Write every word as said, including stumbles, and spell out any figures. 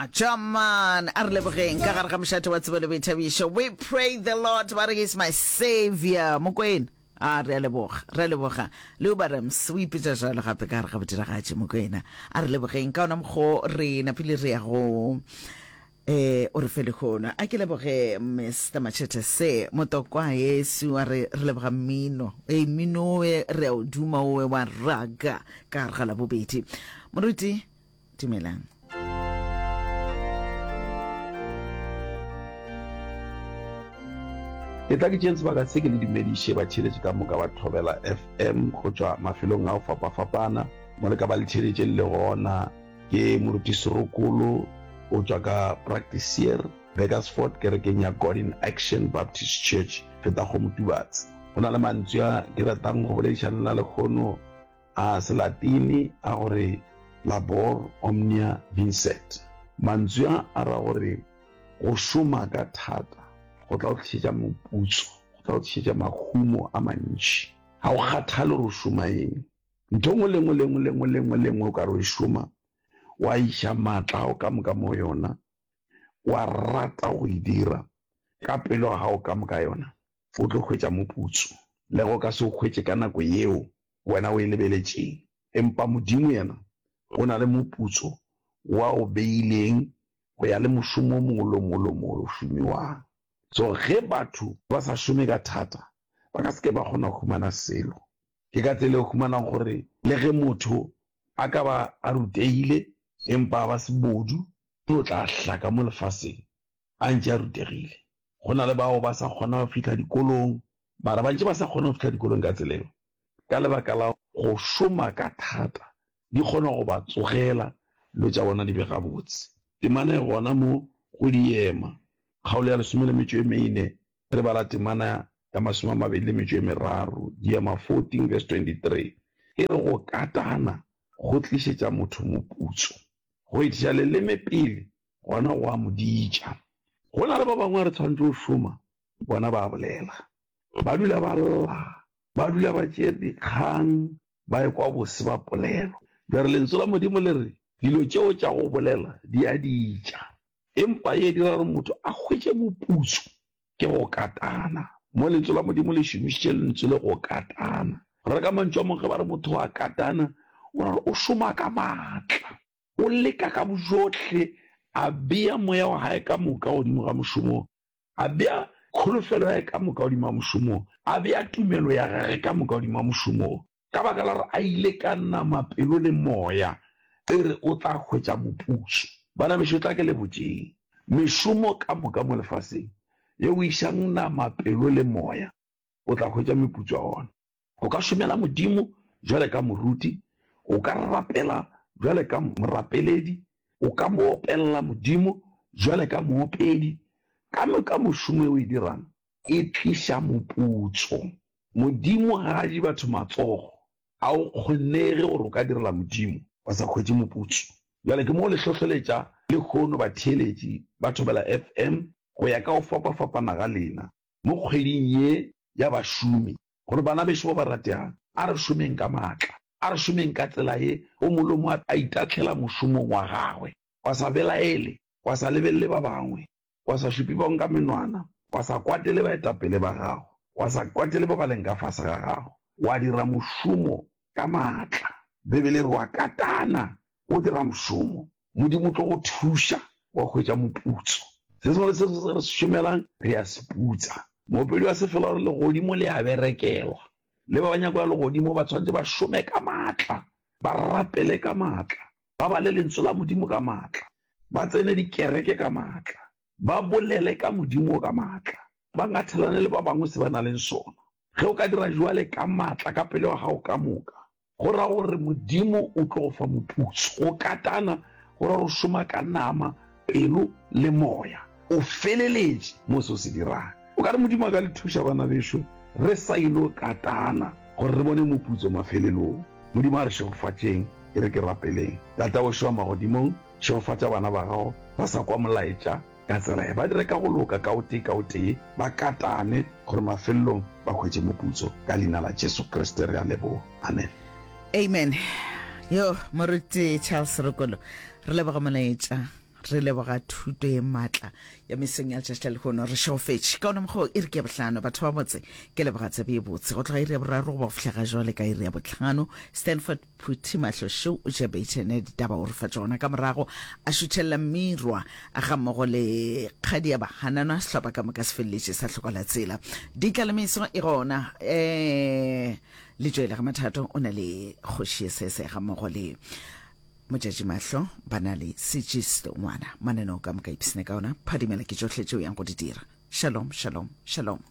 Jaman, a re lebogeng ka gare ga mošate wa tsebo le boithabišo. We pray the Lord, ba re is my savior. Mokwena, a re a leboga, re a leboga. Leuba Rams, o ipetša jalo gape ka gare ga bodiragatši Mokwena. A re lebogeng ka ona mokgo re napile re ya go eh o re fe lehono. A ke leboge Mr Machete se motokwa yesu a re re leboga mmino. E mmino e re a o duma owe wa raga ka gare ga labobedi. Moruti, dumelang. Ke tla ke tšeeng sebaka se ke le dumediše batheeletši ka moka ba Thobela F M go tšwa mafelong a go fapafapana mo le ka ba le theeletše le le gona. Ke Moruti Serokolo o tšwa ka Praktiseer, Burgersfort, kerekeng ya God in Action Baptist Church, Fetakgomo-Tubatse. Go na le mantswe a ke ratang go boledišana le lena lehono a Selatini a gore labor omnia vincet. Mantswe a a ra gore go šoma ka thata go tla go tlišetša moputso, go tla go tlišetša mahumo a mantši. Ga go kgathale gore o šoma eng. Ntho nngwe le nngwe le nngwe le nngwe le nngwe le nngwe o ka re o e šoma, wa iša maatla a gago ka moka mo yona, wa rata go e dira ka pelo ya gago ka moka yona, o tlo hwetša moputso. Le ge o ka se o hwetše ka nako yeo wena o e lebeletšeng, empa Modimo yena o na le moputso wa o beileng go ya le mošomo o mongwe le o mongwe le o mongwe o šomiwang. So ge batho ba sa šome ka thata, ba ka se ke ba kgona go humana selo. Ke ka tsela e o humanang gore le ge motho a ka ba a rutegile empa a ba sebodu, o tla hlaka mo lefaseng a ntše a rutegile. Go na le bao ba sa kgona go fihla dikolong, mara ba ntše ba sa kgone go fihla dikolong ka tsela eo ka lebaka la go šoma ka thata, di kgona go ba tsogela dilo tša bona di be gabotse. Temana e gona mo go Diema, kgaolo ya lesome le metšo e mene, re bala temana ya masome a mabedi le metšo e meraro, Diema fourteen verse twenty-three, e re go katana go tlišetša motho moputso, go etiša leleme pele gona go a mo ditša. Go na le ba bangwe re tshwanetse go šoma, bona ba bolela, ba dula ba lla, ba dula ba tšea dikgang, ba ekwa bose ba polelo. Bjale lentswe la Modimo le re dilo tšeo tša go bolela di a ditša, empa ye dira gore motho a hwetše moputso ke go katana. Mo lentswe la Modimo le šomišitše lentswe le go katana. Re ka mantšu a mangwe ge ba re motho a katana, o ra gore o šoma ka maatla, o leka ka bojohle, a bea moya wa hae ka moka godimo ga mošomo, a bea kholofelo ya hae ka moka godimo ga mošomo, a bea tumelo ya gagwe ka moka godimo ga mošomo. Ka baka la gore a ile ka nama pelo le moya, e re o tla hwetša moputso. Bana bešo, tla ke le botšeng, mešomo ka moka mo lefaseng ye o išang nama pelo le moya, o tla hwetša meputso ya ona. O ka šomela Modimo jwale ka moruti, o ka rapela jwale ka morapeledi, o ka mo opelela Modimo jwale ka moopedi. Ka moka mošomo e o e dirang e tliša moputso. Modimo ga a je batho matsogo, a o kgonege gore o ka direla Modimo wa sa hwetše moputso. Bjale ke mo le hlohleletša lehono batheeletši ba Thobela F M go ya ka go fapafapana ga lena mo kgweding ye ya bašomi, gore bana bešo ba ba rategang, a re šomeng ka maatla, a re šomeng ka tsela ye o molomo a itahlela mošomong wa gagwe, wa sa belaele, wa sa lebelele ba bangwe, wa sa šupe bangwe ka menwana, wa sa kwatele baetapele ba gago, wa sa kwatele ba ba leng ka fase ga gago, wa dira mošomo ka maatla. Bibele re wa katana o dira mošomo, Modimo o tlo go thuša wa hwetša moputso. Se sengwe le se sengwe se re se šomelang re a se putsa. Moopedi wa sefela o re legodimo le a berekelwa, le ba ba nyako ya legodimo ba tshwanetse ba šome ka maatla, ba rapele ka maatla, ba bale lentswe la Modimo ka maatla, ba tsene dikereke ka maatla, ba bolele ka Modimo ka maatla, ba ngathelane le ba bangwe se ba nang le sona. Ge o ka dira jwale ka maatla ka pelo ya gago ka moka, go ra gore Modimo o tlo go fa moputso. Go katana go ra gore o šoma ka nama, pelo le moya, o feleletše mo se o se dirang. O ka re Modimo a ka le thuša bana bešo, re sa ilo katana gore re bone moputso mafelelong. Modimo a re šegofatšeng, e re ke rapeleng. Tata wešo wa magodimong, šegofatša bana ba gago ba sa kwa molaetša ka tsela ye, ba dire ka go loka ka o tee ka o tee, ba katane gore mafelelong ba hwetše moputso. Ka leina la Jesu Kriste re a leboga, amen. Amen. Yo moruti Charles Rokolo, re leboga molaetša. Re leboga thuto ye maatla ya mesong ya letšatši la lehono. Re šegofetše ka ona mokgwa wo. Iri ke ya bohlano, batho ba botse. Ke leboga tsebe ye botse. Go tloga iri ya boraro go ba go fihla ga jwale ka iri ya bohlano, Stanford Phuthi Mahlo Šou o tšea beitšhene ya ditaba o re fa tšona. Ka morago a šutšhelela Mirwa gammogo le Kgadi ya Bahananwa, sehlopha ka moka se feleletše sa hlokola tsela. Ditla le meso e gona. Um Letšoele ga Mathato o na le Kgoši ye Sese gammogo le Motšatši Mahlo ba na le Sejisto ngwana. Mananeo ka moka ipsene ka ona. Phadimela ke tšohle tšeo yang go di dira. Shalom, shalom, shalom.